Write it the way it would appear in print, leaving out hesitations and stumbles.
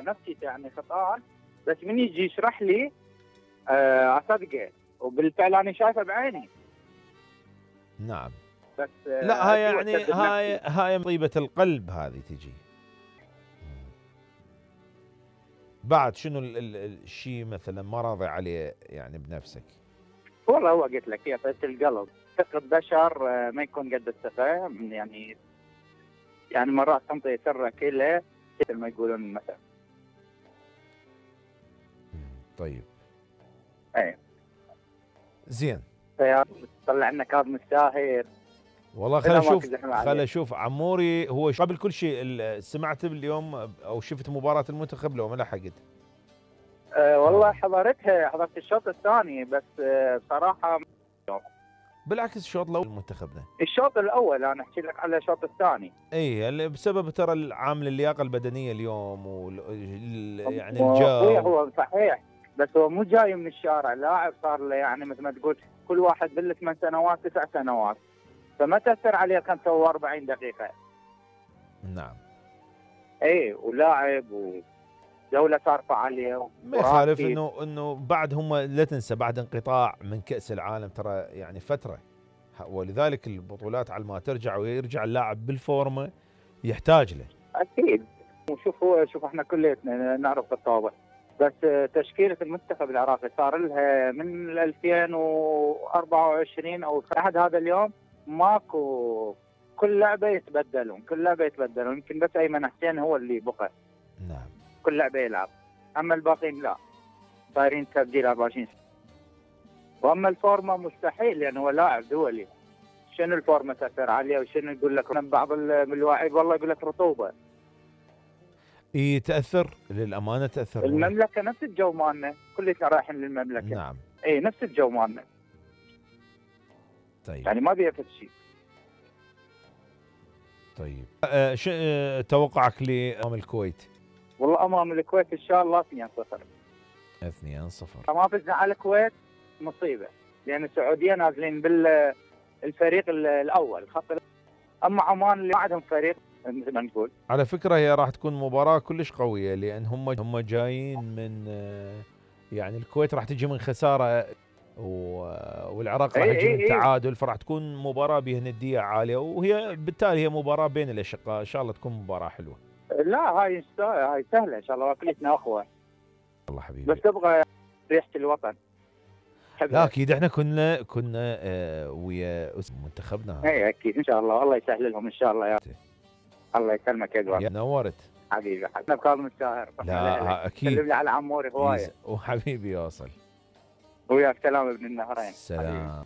نفسيته يعني خطأ، بس من يجي يشرح لي اصدقه، وبالفعل انا شايفه بعيني. نعم. بس لا هاي أكيد يعني وأكدب هاي طيبة القلب هذه تجي. بعد شنو الشيء مثلا ما راضي عليه يعني بنفسك؟ والله هو قلت لك هي طيبة القلب، ثقة بشر ما يكون قد التفاهم يعني مرات تنطي سرك له مثل ما يقولون مثلا. طيب. ايه زين. طلع لنا كاظم الساهر. والله خل اشوف عموري هو قبل كل شيء سمعت اليوم او شفت مباراة المنتخب لو ما لحقت؟ والله حضرت الشوط الثاني بس بصراحة بالعكس الشوط الاول منتخبنا. الشوط الاول انا احكي لك على الشوط الثاني. اي بسبب ترى العامل اللياقة البدنية اليوم يعني اخويا الجو. هو صحيح، بس هو مو جاي من الشارع، لاعب صار له يعني مثل ما تقول كل واحد بال8 سنوات 9 سنوات، فما تاثر عليه 45 دقيقة. نعم. اي ولاعب ودولة صارفة عليه. ما يخالف انه بعد هم لا تنسى بعد انقطاع من كأس العالم ترى يعني فترة، ولذلك البطولات على ما ترجع ويرجع اللاعب بالفورمة يحتاج له. اكيد. شوف احنا كليتنا نعرف الطابع، بس تشكيلة المنتخب العراقي صار لها من 2024 او لحد هذا اليوم ماكو، كل لعبة يتبدلون يمكن بس ايمن حسين هو اللي بقى. نعم. كل لعبة يلعب، اما الباقيين لا، صايرين تبديل 24 سنة. واما الفورمة مستحيل لانه هو لاعب دولي، شنو الفورمة تأثر عليه؟ وشنو يقول لك بعض اللاعبين والله يقول لك رطوبة. تأثر للأمانة تأثر. المملكة نفس الجو مالنا، كلنا رايحين للمملكة. نعم. اي نفس الجو مالنا. طيب. يعني ما بيفت شيء. طيب. توقعك لأمام الكويت؟ والله أمام الكويت إن شاء الله 2-0. 2-0. ما فزنا على الكويت مصيبة، لأن السعودية نازلين بالفريق الأول خط. أما عمان اللي ما عندهم فريق مثل ما نقول. على فكرة هي راح تكون مباراة كلش قوية، لأن هم جايين من يعني الكويت راح تجي من خسارة والعراق راح يجي من تعادل، فراح تكون مباراة بها ندية عالية، وهي بالتالي هي مباراة بين الأشقاء، إن شاء الله تكون مباراة حلوة. لا هاي سهلة إن شاء الله، كلتنا أخوة. الله حبيبي. بس تبغى ريحة الوطن. لا أكيد إحنا كنا ويا منتخبنا هذا. إيه أكيد إن شاء الله، الله يسهل لهم إن شاء الله. الله يسلمك يا ادوارد. نورت حبيبي انا بكاظم الساهر. لا اكيد. سلم لي على عموري هوايه. وحبيبي يوصل. وياك سلام ابن النهرين. سلام.